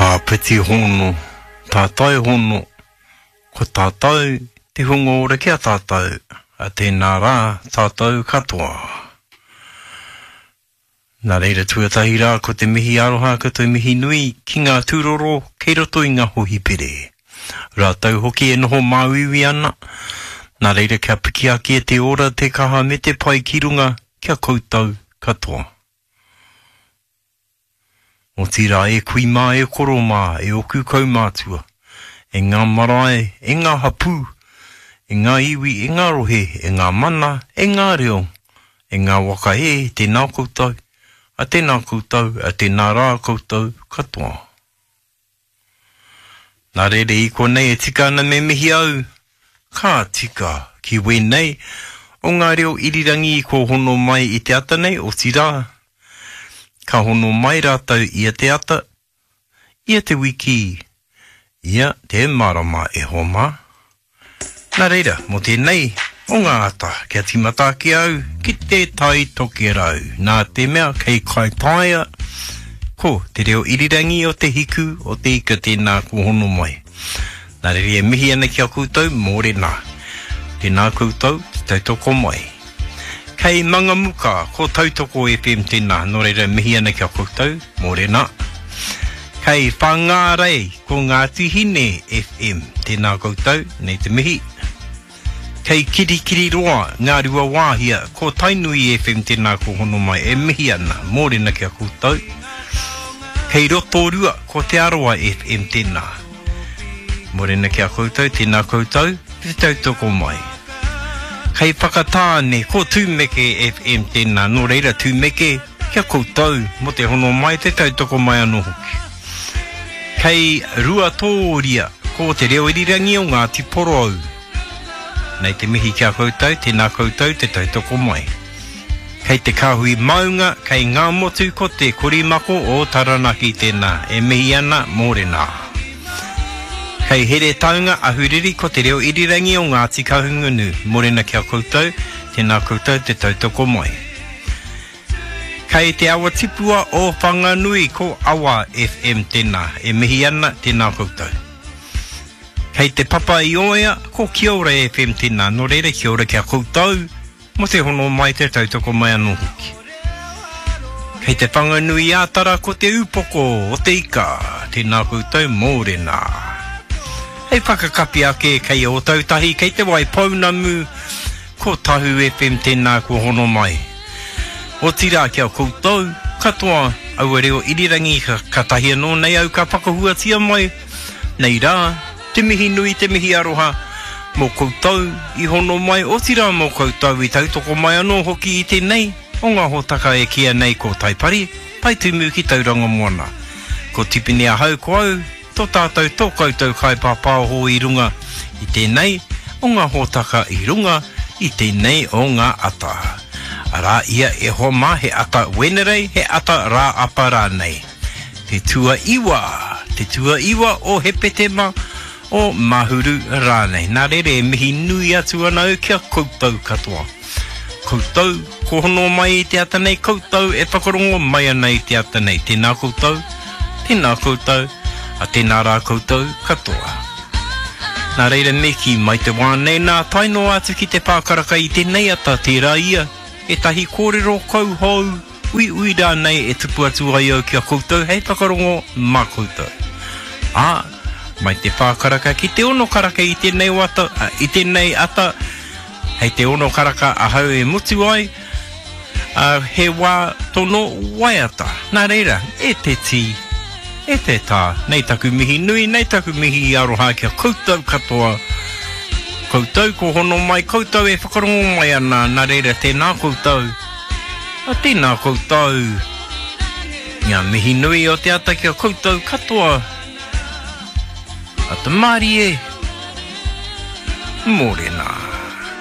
Āpiti hono, tātai hono, ko tātou te hunga ora ki a tātou, a tēnā rā tātou katoa. Nā reira tuatahi rā ko te mihi aroha ko te mihi nui ki ngā tūroro kei roto i ngā hohipere. Rātou hoki e noho māuiui ana, nā reira kia piki ake te ora, te kaha me te pai ki runga ki a koutou katoa. Otirā e kui mā, e koro mā, e oku kaumātua, e ngā marae, e ngā hapū, e ngā iwi, e ngā rohe, e ngā mana, e ngā reo, e ngā waka e, tēnā koutou, a tēnā koutou, a tēnā rā koutou katoa. Nā reira i konei e tika ana me mihi au, ka tika ki wēnei o ngā reo irirangi i kōhono mai i te ata nei, otirā, ka hono mai rātou ia te ata, ia te wiki, ia te marama e hoa mā. Nā reira, mō tēnei o ngā ata, kia tīmata ake au ki te Tai Tokerau, nā te mea kei Kaitaia, ko te reo irirangi o te hiku o te ika tēnā kua hono mai. Nā reira e mihi ana ki a koutou, mōrena. Tēnā koutou, te tautoko mai. Kei Mangamuka, ko Tautoko FM tēnā, nō reira e mihi ana ki a koutou, mōrena. Kei Whangārei, ko Ngāti Hine FM. Tēnā koutou, nei te mihi. Kei Kirikiriroa, Ngāruawāhia, ko Tainui FM tēnā ko hono mai e mihi ana, mōrena ki a koutou. Kei Rotorua, ko Te Arawa FM tēnā. Mōrena ki a koutou, tēnā koutou, te tautoko mai. Kei Whakatāne, ko Tūmeke FM tēnā, nō reira Tūmeke, Ki a koutou, mo te hono mai, te tautoko mai anō hoki. Kei Ruatōria, ko te reo irirangi o Ngāti Porou. Nei te mihi ki a koutou, tēnā koutou te tautoko mai. Kei te kāhui maunga, kei Ngāmotu ko te korimako o Taranaki tēnā, e mihi ana, mōrena. Kei Heretaunga, Ahuriri ko te reo irirangi o Ngāti Kahungunu, mōrena ki a koutou, tēnā koutou te tautoko mai. Kei te awa tipua o Whanganui ko Awa FM tena e mihi ana tena koutou. Kei te papa i Oea ko Kia Ora FM tena no reira kia ora kia koutou mo te hono mai te tautoko mai ano hoki. Kei te Whanganui a Tara ko te upoko o te ika tena koutou mōrena. Hei whakakapi ake kei Ōtautahi kei te Waipounamu Ko Tahu FM tēnā kua hono mai. Otirā ki a koutou katoa aua reo irirangi katahi anō nei au ka whakahuatia mai nei rā te mihi nui te mihi aroha mō koutou i hono mai otirā mō koutou i tautoko mai anō hoki i tēnei o ngā hōtaka e kīia nei ko Taipari, Taitumu ki Tauranga Moana. Ko Tipene ahau ko au Tō tātou, tō koutou kaipāpāoho i runga i tēnei o ngā hōtaka i runga i tēnei o ngā ata. Arā ia e hoa mā he ata Wenerei, he ata Rāapa rānei. Te tuaiwa, te tuaiwa o Hepetema, o Mahuru rānei. Nā reira e mihi nui atu ana au ki a koutou katoa. Koutou, ko hono mai i te ata nei, koutou e whakarongo mai ana i te ata nei. Tēnā koutou, tēnā koutou, a tēnā rā koutou katoa. Nā reira me kī mai te wā nei nā tae noa atu ki te pākaraka i tēnei ata tērā ia ētahi kōrero kauhou, uiui rānei e tupu atu ai au ki a koutou hei whakarongo mā koutou. Ā, mai te pākaraka ki te ono karaka i tēnei wata, i tēnei ata, Hei te ono karaka ahau e mutu ai, ā, he wā tono waiata. Nā reira, e te tī, e te tā, nei taku mihi nui, nei taku mihi aroha ki a koutou katoa, koutou ko hono mai, koutou e whakarongo mai ana, nā reira tēnā koutou, ā, tēnā koutou. Ngā mihi nui o te ata ki a koutou katoa. Ata mārie, mōrena.